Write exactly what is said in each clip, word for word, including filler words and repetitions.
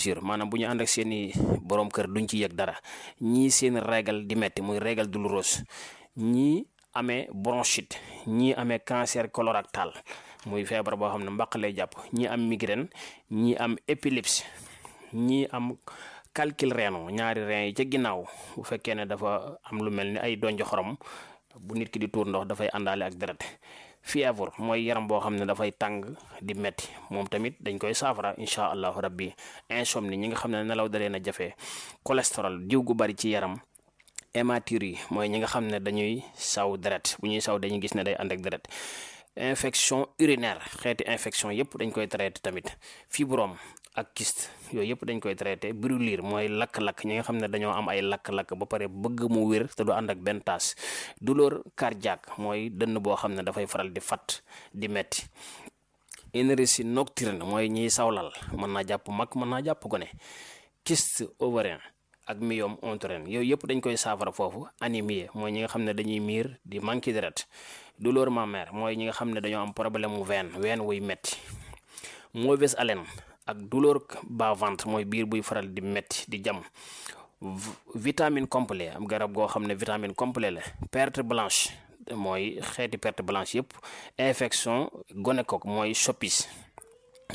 blessure maanaam bu ñu ànd ak seeni borom kër duñ ci yëg dara, ñii seen régal di metti muy régal douloureuse, ñii amee bronchite, ñii amee cancer colorectal muy feebar boo xam ne mbaq lay jàpp, ñii am migraine, ñii am épilepsie, ñii am calcul rénal ñaari rein yi ca ginnaaw bu fekkee ne dafa am lu mel ni ay donj xorom bu nit ki di tuur ndox dafay àndaale ak deret. fièvre mooy yaram boo xam ne dafay tàng di metti, moom tamit dañ koy saafara incha allahu rabbi. insomnie ñi nga xam ne nelaw da leen a jafe, cholestérol diw gu bari ci yaram, hématurie mooy ñi nga xam ne dañuy saw deret, bu ñuy saw dañuy gis ne day ànd ak deret. infection urinaire xeeti infection yëpp dañ koy traité tamit. fibrome ak kyste yooyu yëpp dañ koy traité. brûlure mooy lakk-lakk ñi nga xam ne dañoo am ay lakk-lakk ba pare bëgg mu wér te du ànd ak benn taas. douleur cardiaque mooy dënn boo xam ne dafay faral di fat di metti. énergie nocturne mooy ñiy sawlal, mën naa jàpp mag mën naa jàpp gone. kyste ovarien ak myome utérin yooyu yëpp dañ koy saafara foofu. anémie mooy ñi nga xam ne dañuy miir di manqué deret. douleur mammaire mooy ñi nga xam ne dañoo am problème mu veine veine wuy metti. mauvaise haleine ak douleur bas-ventre mooy biir buy faral di metti di jam. vitamine complet am garab goo xam ne vitamine complet la. perte blanche mooy xeeti perte blanche yëpp. infection gonocoque mooy soppis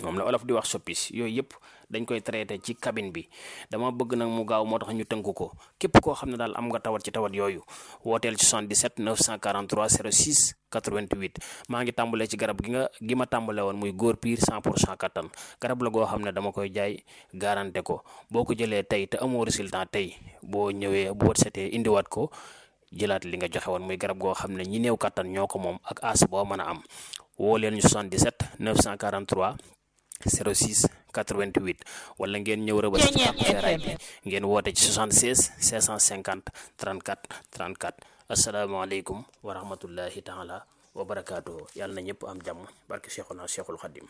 moom la olof di wax soppis yooyu yëpp dañ koy traité ci cabine bi. dama bëgg nag mu gaaw moo tax ñu tënk ko. képp koo xam ne daal am nga tawat ci tawat yooyu wooteel ci soixante-dix-sept neuf cent quarante-trois zéro six quatre-vingt-huit. maa ngi tàmbalee ci garab gi nga gi ma tàmbale woon muy góor piir cent pour cent kattan. garab la goo xam ne dama koy jaay garanté ko. boo ko jëlee tey te amoo résultat tey boo ñëwee boo setee indiwaat ko jëlaat li nga joxe woon muy garab goo xam ne ñi néew kattan ñoo ko moom ak as boo mën a am. woo leen ñu soixante-dix-sept neuf cent quarante-trois zéro six quatre-vingt-huit wala ngeen ñëw rëbës ci Pàkk Feeraay bi ngeen woote ci soixante-seize cinq cent cinquante trente-quatre trente-quatre. asalaamaaleykum wa rahmatullahi taala wa barakaatuhu. yàlla na ñëpp am jàmm barke Cheikhuna Cheikhul Khadim.